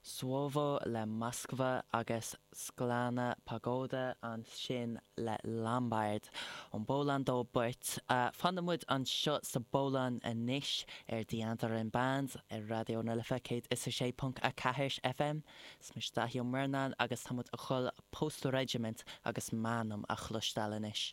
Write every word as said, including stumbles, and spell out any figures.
Svovo le Moskva agus Sklana Pagoda ansin le Lombard. Ón bPolainn dóibh beirt. Uh, Fanann muid anseo sa bPolainn anois ar The Andaran Band ar Raidió na Life céad is a sé ponc a ceathair FM. Is mise Daithí Ó Murnáin agus táimid ag dul Post Regiment agus M'anam a chloisteáil anois.